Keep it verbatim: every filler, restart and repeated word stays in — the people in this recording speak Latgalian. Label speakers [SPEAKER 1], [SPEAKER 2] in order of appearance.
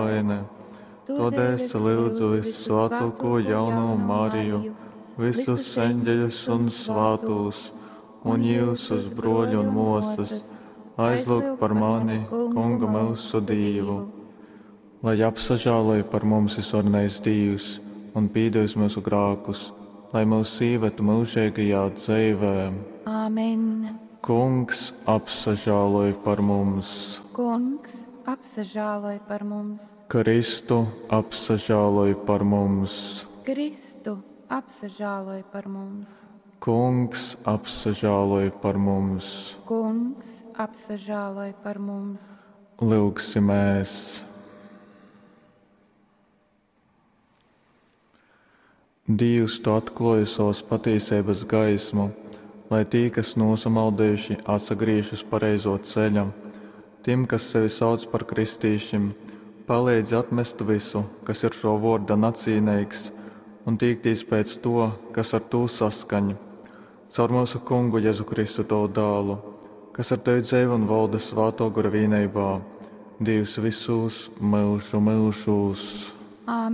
[SPEAKER 1] Vaine. Tōdēļ es lyudzu vissvātōko jaunovu Mariju, visus eņģeļus un svātūs, un jyusus, broļi un mōsas, aizlūgt par mani, Kungu myusu Dīvu. Lai apsažāloj par mums visvarenais Dīvs un pīdevis myusu grākus, lai mūs īved mūžīgajā dzeivē.
[SPEAKER 2] Āmen.
[SPEAKER 1] Kungs apsažāloj par mums.
[SPEAKER 2] Kungs apsažāloj par mums.
[SPEAKER 1] Kristu apsažāloj par mums.
[SPEAKER 2] Kristu apsažāloj par mums.
[SPEAKER 1] Kungs apsažāloj par mums.
[SPEAKER 2] Kungs apsažāloj par mums.
[SPEAKER 1] Lūgsimies! Dievs, tu atklāji savas patīsības gaismu, lai tī, kas nosamaldējuši, atsagriež uz pareizo ceļa. Tiem, kas sevi sauc par kristīšiem, palīdzi atmest visu, kas ir šo vārda nacīnīgs, un tīktīs pēc to, kas ar to saskaņ. Caur mūsu kungu Jēzu Kristu tavu dēlu, kas ar tevi dzīvo un valda svāto gara vienībā, Dievs visus mūžu mūžos.
[SPEAKER 2] Āmen.